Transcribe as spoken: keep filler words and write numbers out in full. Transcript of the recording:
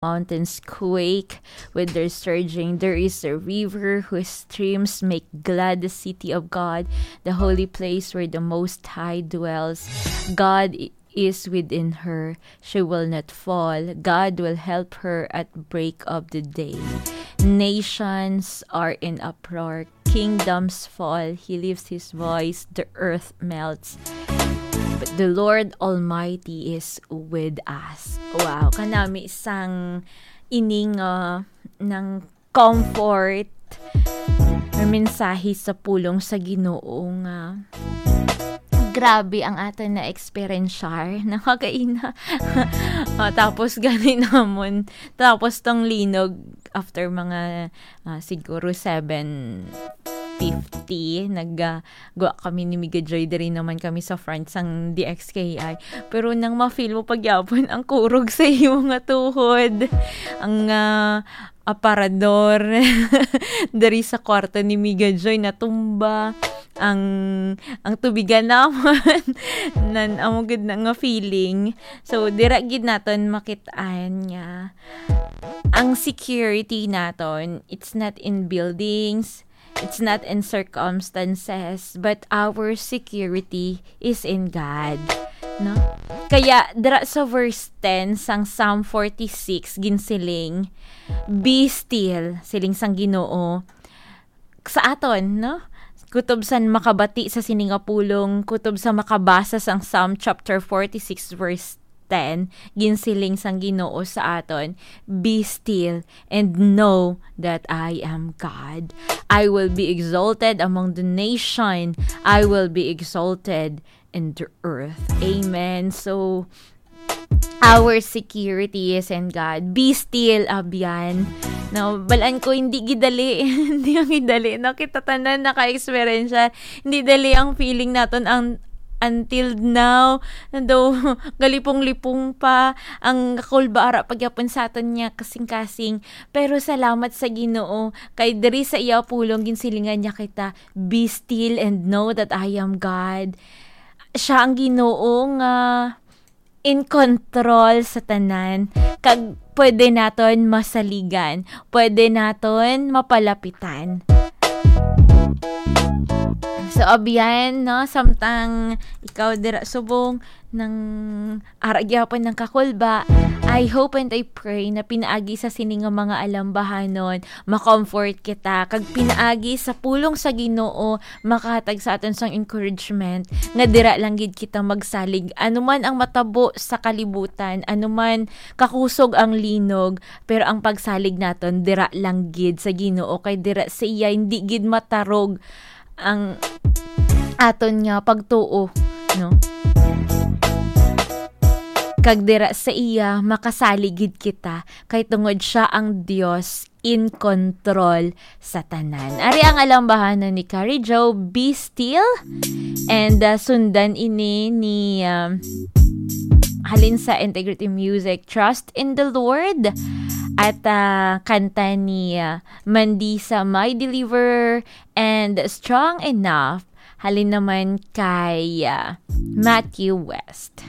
mountains quake with their surging. There is a river whose streams make glad the city of God, the holy place where the Most High dwells. God i- is within her. She will not fall. God will help her at break of the day. Nations are in uproar. Kingdoms fall. He lifts his voice. The earth melts. But the Lord Almighty is with us. Wow, kanami sang ining, ah, ng comfort, may mensahe sa pulong sa Ginoo nga grabe ang aton na-experiencear. Nakakaina. Ah, tapos gani namon. Tapos tong linog after mga, ah, siguro seven fifty, nag, ah, gwa kami ni Miga Joy, diri naman kami sa front sang D X K I. Pero nang ma-feel mo pagyapon ang kurog sa imo nga tuhod, ang, ah, aparador diri sa kwarto ni Miga Joy natumba, ang, ang tubigan naman, nan, amo gid na nga feeling. So, dira gid naton makit-an nga ang security naton, it's not in buildings, it's not in circumstances, but our security is in God. No? Kaya, dira sa verse ten sang Psalm forty-six, ginsiling, "Be still," siling sang Ginoo, sa aton, no? Kutob sa makabati sa sini nga pulong, kutob sa makabasa sang Psalm chapter forty-six, verse ten, ginsiling sang Ginoo sa aton, "Be still and know that I am God. I will be exalted among the nation. I will be exalted in the earth." Amen. So, our security is in God. Be still, abyan. No, balaan ko, hindi gid dali. Hindi ang gid dali. No, kita tanan naka-experience siya. Hindi dali ang feeling naton ang until now. Daw, galipong-lipong pa ang kakulbara pagyapon sa aton niya kasing-kasing. Pero salamat sa Ginoo, kay diri sa iya pulong ginsilingan niya kita, "Be still and know that I am God." Siya ang Ginoo nga in control sa tanan, kag pwede naton masaligan, pwede naton mapalapitan. So, abyan, no, samtang ikaw dira subong nang ara gyapon ng kakulba, I hope and I pray na pinaagi sa sini nga mga alambahanon, ma-comfort kita, kag pinaagi sa pulong sa Ginoo, makahatag sa aton sang encouragement nga dira lang gid kita magsalig, anuman ang matabo sa kalibutan, anuman kakusog ang linog, pero ang pagsalig naton dira lang gid sa Ginoo, kay dira sa iya hindi gid matarog ang aton nga pagtuo, no? Kag dira sa iya makasalig gid kita, kay tungod siya ang Dios in control sa tanan. Ari ang alambahanan ni Carrie Joe, "Be Still." And, uh, sundan ini ni, um, halin sa Integrity Music, "Trust in the Lord." At, uh, kanta ni, uh, Mandisa, "My Deliverer," and "Strong Enough." Halin naman kay, uh, Matthew West.